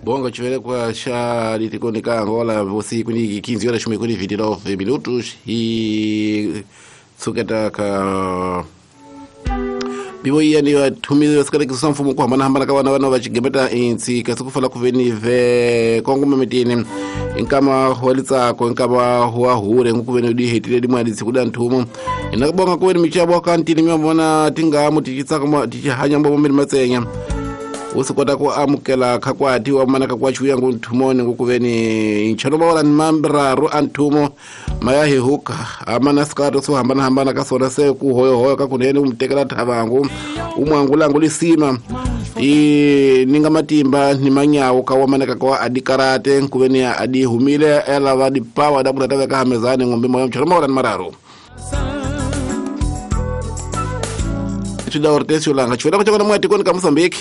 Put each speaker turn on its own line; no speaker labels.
Bonga chivelekwa xa litikoni ka Angola vusiku ni 15 horas kuni 29 minutos hi tshuketa ka bivo iya ni vathumile swikalekisa mfumo ku hambanahambana ka vana vana va xigemeta intsi kasi ku fala ku veni ve kongoma mitini i nkama wa litsako i nkama wa hure ku veni di hetile dimali tsiku da nthumo ina ku bonga ku veni michavo ka ntini mi vona tingamu tichitsaka tichihanya mbomo miri matsenya wu swi kota ku amukela khakwati wa mana kakwachi uya ngu nthumoni ngu ku veni nchelo va ni mambiraru a nthumo maya hi huka amana sikato swo hambanahambana ka swona se ku hoyohoyo ka kunene u mu tekela thavangu u mwangulangu lisima i ninga matimba ni manyawo ka wamaneka kwa adi karate nkuveni adi humile ela va di pawa da kutata veka hamezani ng'ombe moyo mchelo mawala ni mararu swi da Hortensio Langa chiveleko chakona mwatikoni ka Mozambique.